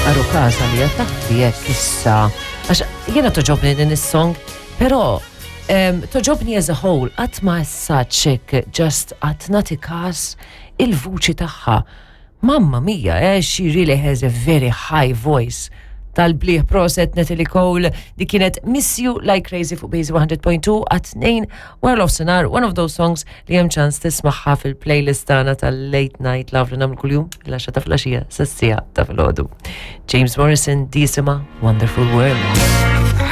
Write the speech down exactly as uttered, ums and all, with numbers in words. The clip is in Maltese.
Għarukaż għalija taffi jekk issa. Għax jiena togħġobni din is-song, però um, togħġobni as a whole, qatt ma such hekk just qatt nagħti każ il-vuċi tagħha. Mamma mia, eh, she really has a very high voice. Tal-bliħ proset Natalie Cole, di kienet Miss You Like Crazy fuq Base one hundred point two at tnejn wara nofsinhar, one of those songs li hemm ċans tismagħha fil-playlist tagħna tal-Late Night Love li nagħmlu kuljum l-għaxra ta' filgħaxija sas-siegħa ta' filgħodu. James Morrison, di jisimha Wonderful World.